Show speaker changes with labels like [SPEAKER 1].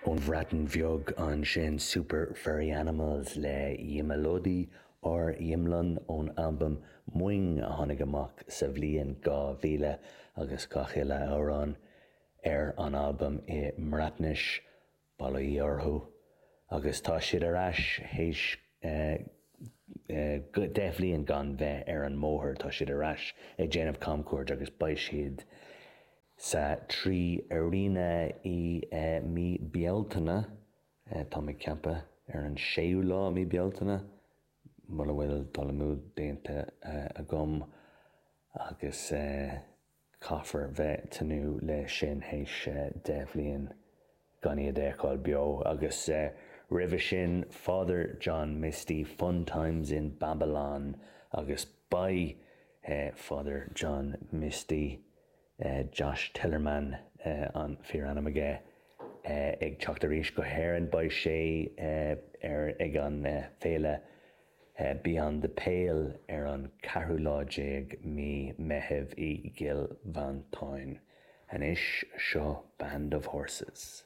[SPEAKER 1] Ón Bhreatain Bheag ansin, Super Furry Animals le Ymaelodi or Yimlon ón albam Mwing a tháinig amach sa bhliain 2000 agus gach uile amhrán ar an albam i mBreatnais. Bail ó Dhia orthu. Agus tá siad ar ais théis 10 bhliain gan bheith ar an mbóthar. Tá siad ar ais ag déanamh camchuairt agus beidh siad sa 3Arena i mí Bealtaine, táim ag ceapadh ar an séú lá mí Bealtaine, mura bhfuil dul amú déanta agam agus. Caithfear bheith tnúth le sin théis 10 bhliain gan iad a fheiceáil beo. Agus roimhe sin Father John Misty, Fun Times in Babylon agus beidh Father John Misty, Josh Tillerman an fíorainm aige, ag teacht arís go hÉirinn. Beidh sé ar ag an féile Beyond the Pale ar an ceathrú lá déag mí Meitheamh i gCill Mhantáin. Anois, seo Band of Horses.